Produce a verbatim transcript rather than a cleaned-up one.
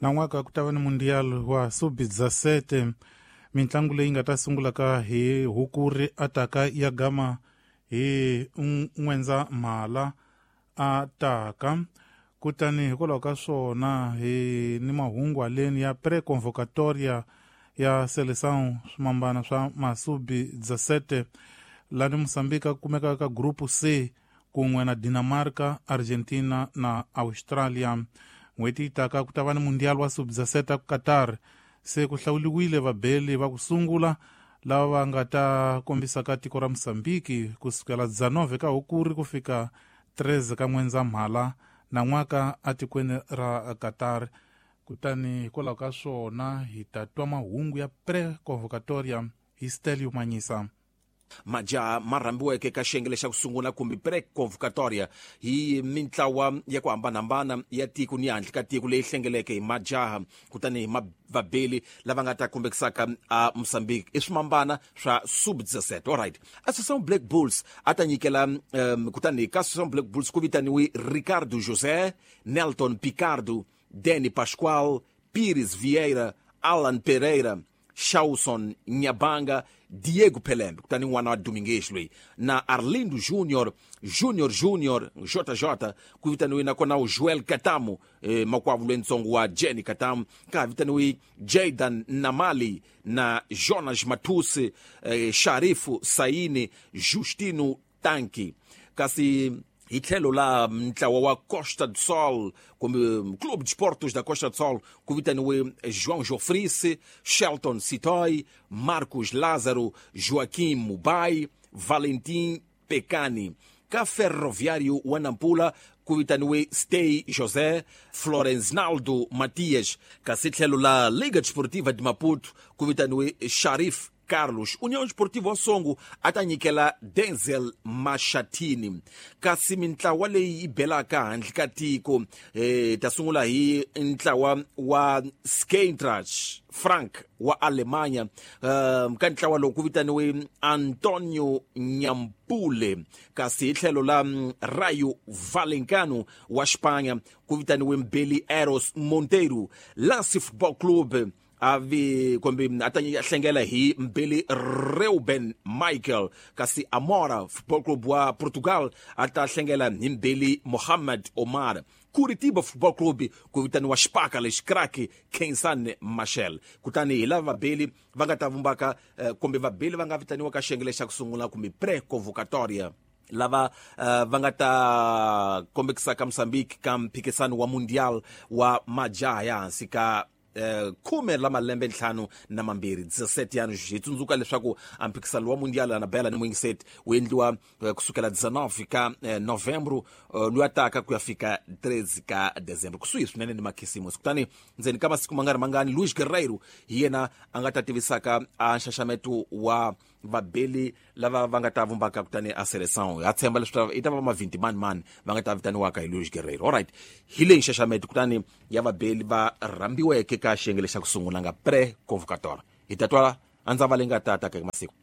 Nan'waka ku ta va ni Mundial wa sub dezessete, mitlangu leyi nga ta sungulaka hi Hukuri ataka ya gama hi N'wendzamhala ataka. Kutani hikwalaho ka swona hi ni mahungu aleni ya pre-convocatoria ya Seleção swimambana swa masub dezessete lani Mozambique kumeka ka Grupo C kun'we na Dinamarca, Argentina na Australia. N'hweti yi taka ku ta va ni Mundial wa sub dezessete Qatar. Se ku hlawuliwile vabeli va ku sungula lava va nga ta kombisaka tiko ra Mozambique kusukela dezenove ka Hukuri ku fika treze ka N'wendzamhala nan'waka atikweni ra Qatar. Kutani hikwalaho ka swona hi ta twa mahungu ya pre-convocatoria hi Stelio Manyisa. Majaha ma rhambiweke ka xiyenge xa ku sungula kumbe pre-convocatoria hi mintlawa ya ku hambanahambana ya tiko ni handle ka tiko leyi hlengeleke hi majaha kutani hi vabeli lava nga ta kombekisaka a Mozambique i swimambana swa sub dezessete. Alright, Associação Black Bulls a ta nyikela um, kutani ka Associação Black Bulls ku vitaniwe Ricardo José, Nelton Picardo, Danny Pascoal, Pires Vieira, Alan Pereira, Shawson Nyabanga, Diego Pelembe, kutani n'wana wa Domingues loyi, na Arlindo Junior, Junior Junior, J J, ku vitaniwe nakona u Joel Katamu, eh, makwavo lwentsongo wa Jenny Katamu, ka vitaniwe Jaydan Namali na Jonas Matusi, eh, Sharifu Saini, Justino Tanki. Kasi hi tlhelo la ntlawa wa Costa do Sol kumbe Clube de Esportes da Costa do Sol ku vitaniwe João Jofrice, Shelton Sitoy, Marcos Lázaro, Joaquim Mubai, Valentim Pecani. Ka Ferroviário wa Nampula ku vitaniwe Stey José, Florenznaldo Matias. Kasi tlhelo la Liga Desportiva de Maputo ku vitaniwe Sharif Carlos. União Esportiva Songo a ta nyikela Denzel Mashatini. Kasi mintlawa leyi yi belaka handle ka tiko eh, ta sungula hi ntlawa wa Skentrach Frank wa Alemanha. Um, ka ntlawa lowu ku vitaniwe Antonio Nyampule. Kasi hi tlhelo la Rayo Vallecano wa Espanha ku vitaniwe Mbeli Eros Monteiro. Lance Football Club avi kumbe a ta hlengela hi Mbeli Reuben Michael. Kasi Amora Football Club wa Portugal a ta hlengela hi Mbeli Mohamed Omar. Curitiba Football Club ku vitaniwa Xipaka lexi crack Kensan Machel. Kutani hi lava vabeli va nga ta vumbaka kumbe vabeli va nga vitaniwa ka xiyenge xa ku sungula kumbe pre-convocatoria lava uh, va nga ta kombekisaka Mozambique ka mphikisano wa Mundial wa majaha ya hansi ka khume la malembe ntlhanu na mambirhi dezessete anos. Hi tsundzuka leswaku a mphikisano wa Mundial na Bela ni Mwingiset wu endliwa kusukela dezenove ka novembro loyi taka ku ya fika treze ka dezembro, kusuhi swinene ni makhisimusi. Kutani ndzeni ka masiku mangani mangani Luis Guerreiro hi yena a nga ta tivisaka a nxaxameto wa vabeli lava va nga ta vumbaka kutani a Seleção. Ha tshemba leswaku i ta va mavinti mani mani va nga ta vitaniwaka hi Luis Guerreiro. Alright, hi leyi nxaxameto kutani ya vabeli va rhambiweke ka xiyenge lexa ku sungula nga pre-convocatoria. Hi ta twala a ndza va leyi nga ta ta ka masiku.